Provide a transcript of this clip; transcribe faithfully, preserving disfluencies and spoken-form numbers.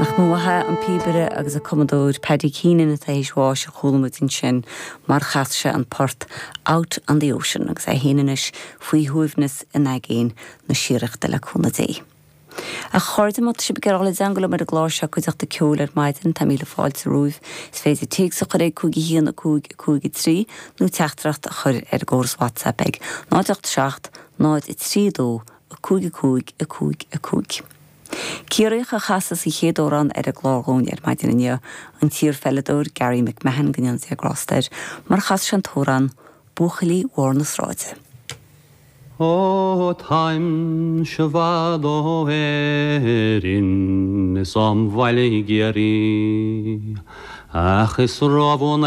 Nach mó an píobaire agus an cumadóir Paddy Keenan atá théis bháis a chuala muid ansin mar chas sé an port Out on the Ocean agus é féin anois faoi shuaimhneas in aigéan na síoraíochta le cúnamh Dé. A chairde má tá sibh ag iarraidh teagmháil liom ar an gclár seo cuideachta ceoil ar maidin tá míle fáilte romhaibh, is féidir téacs a chur ag cúig a haon a cúig a cúig a trí nó teachtaireacht a chur ar an gcóras WhatsApp ag náid ocht seacht náid a trí dó a cúig a cúig a cúig a cúig. Ciarraíoch a chasas an chéad amhrán ar an gclár dhúinn ar maidin inniu an t-iarpheileadóir Gary McMahon go ndéana Dia grásta air, mar chas sé an t-amhrán Buachaillí Bharr na Sráide. Ó táimse i bhfad ó Éirinn is óm bhaile i gCiarraí, ach is róbhuan